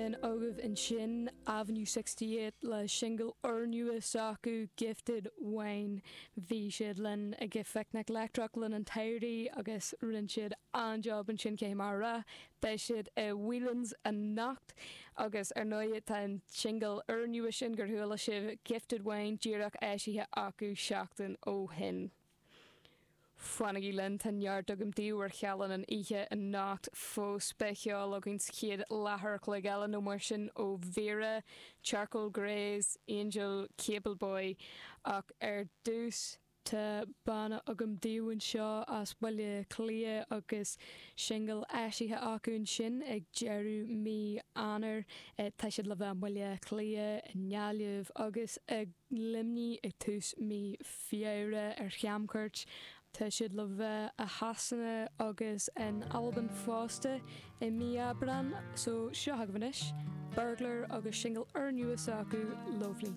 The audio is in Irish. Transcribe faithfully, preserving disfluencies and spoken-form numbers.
B'in agaibh ansin Avenue sixty eight le singil úrnua s'acu Gifted Wine. Bhí siad linn ag Phicnic Leictreach le linn an tsamhraidh agus rinne siad an-job ansin cé mar a rá. Beidh siad i Whelan's anocht agus ar ndóigh tá an singil úrnua sin gur chuala sibh Gifted Wine díreach eisithe acu seachtain ó shin. Fanaigí linn, tá neart agam daoibh ar Chealann an oíche anocht fós. Beidh ceol againn sa chéad leathuair a chloig eile nó mar sin ó Vera, Charcoal Greys, Angel, Cable Boy ach ar dtús, tá banna agam daoibh anseo as Baile Átha Cliath agus singil eisithe acu ansin ag deireadh mí Eanáir. Tá siad le bheith i mBaile Átha Cliath, i nGaillimh agus i Luimnigh ag tús mí Feabhra ar chamchuairt. Tá siad le bheith i Shasana agus in Albain fosta i mí Aibreán. So seo agaibh anois, Burglar agus singil úrnua s'acu, Lovely.